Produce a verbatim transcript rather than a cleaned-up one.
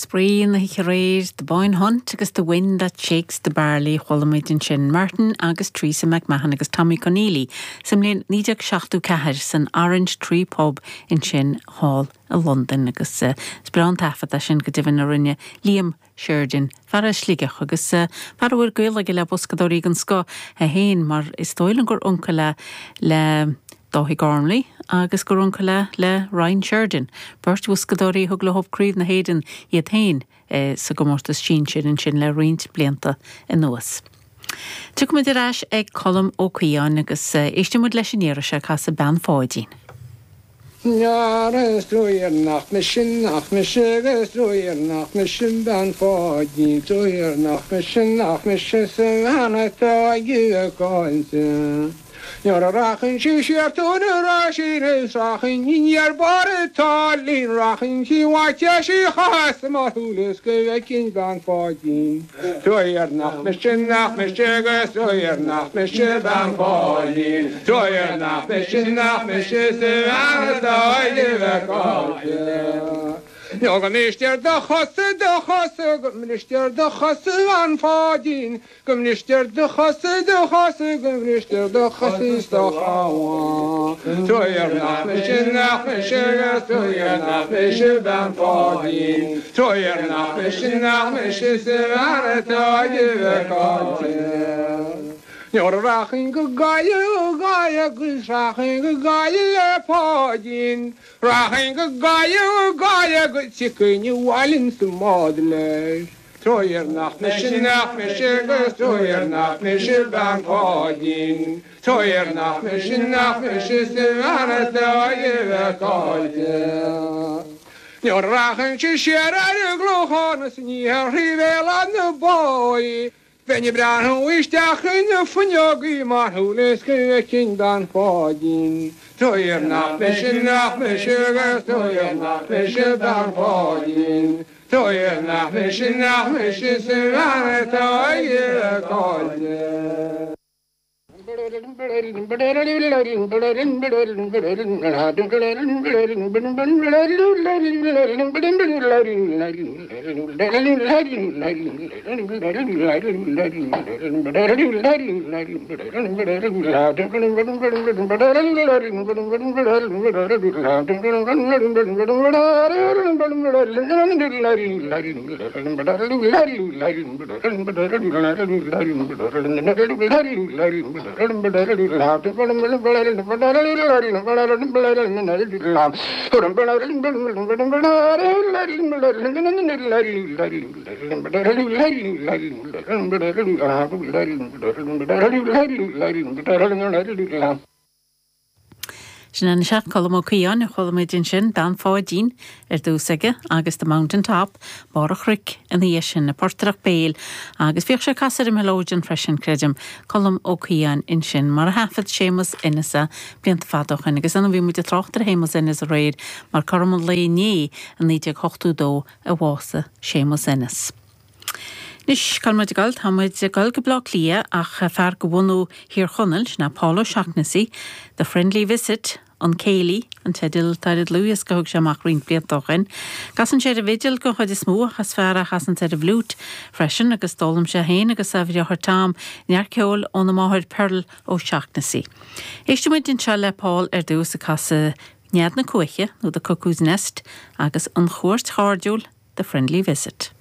Spraoi na hoíche aréir, The Boyne Hunt agus The Wind That Shakes the Barley chuala muid ansin Martin agus Teresa McMahon agus Tommy Conneely sa mbliain naoi déag seachtó ceathair san Orange Tree Pub ansin thall i Londain agus eh, is breá an taifead é sin go deimhin a rinne Liam Sheridan, fear as Sligeach agus eh, fear a bhfuil gaol aige le boscadóirí den scoth é féin mar is dóigh liom gur uncail é le Dáithí Gormley agus gur uncail é le Ryan Sheridan, beirt bhoscadóirí a thug leo Craobh na hÉireann iad féin eh, sa gcomórtas sinsir ansin le roinnt blianta anuas. Tiocfaimid ar ais ag Colm Ó Caodháin agus eh, éistfimid leis an iarraidh seo casadh Bean Pháidín. Is truaighe nach mise nach mise is truaighe nach mise bean Pháidín truaighe nach mise nach mise sa bhean atá ag caillte. Nuair a rachainn sí siar tóin ra sí rachainn ar barr an táillín rachainn sí bhaite sí chas mar thulas go bhfeicfinn bean Pháidín. Truaighe nach mise nach mise agus truaighe nach mise bean Pháidín. Truaighe nach mise nach mise sa bhean atá ag caillte. Nó go mbristear do chosa do chosa go mbristear do chosa a Pháidín, go mbristear do chosa do chosa go mbristear do chosa is do chamán. Truaighe nach mise nach mise truaighe nach mise bean Pháidín, Truaighe nach mise nach mise sa bhean atá ag caillte. Nuair a rachainn go Gaillimh Gaillimh agus rachainn go Gaillimh le Páidín, Rachainn go Gaillimh Gaillimh go dtiocfainn abhaile sa mbád leis. Truaighe nach mise nach mise agus truaighe nach mise bean Pháidín, Truaighe nach mise nach mise sa bhean atá ag caillte. Nuair a rachainn sí siar ar an gClochán is aniar thrí Bhéal Átha na Báighe, Bheinn ag breathnú isteach ina fuinneogaí mar shúil go bhfeicfinn bean Pháidín. Truaighe nach mise nach mise agus truaighe nach mise bean Pháidín. Truaighe nach mise nach mise sa bhean atá ag caillte. Sin an seach Colm Ó Caodháin a chuala muid ansin Bean Pháidín ar dtús aige agus The Mountain Top, Barr an Chnoic ina dhiaidh sin na portaireacht béil agus bhíodh sé ag casadh ar an mileoidean freisin creidim Colm Ó Caodháin ansin mar a thaifead Séamus Ennis é blianta fada ó shin agus ann bhí muid ag trácht ar Shéamus Ennis aréir mar cothrom an lae inné i naoi déag ochtó dó a bhásaigh Séamus Ennis. Anois cá bhfuil muid ag dul tá muid ag dul go Bleá Cliath ach fear de bhunadh Thír Chonaill sin é Paul O'Shaughnessy, The Friendly Visit, An Céilí, an teideal atá ar an dlúthdhiosca a thug sé amach roinnt blianta ó shin. Casann sé ar an bhfidil den chuid is mó ach is fear é a chasann ar an bhfliúit freisin agus d'fhoghlaim sé féin agus a dheartháir Tom neart ceoil óna máthair Pearl O'Shaughnessy. Éistfimid anseo le Paul ar dtús ag casadh Nead na Cuaiche nó The Cuckoo's Nest agus an chuairt chairdiúil The Friendly Visit.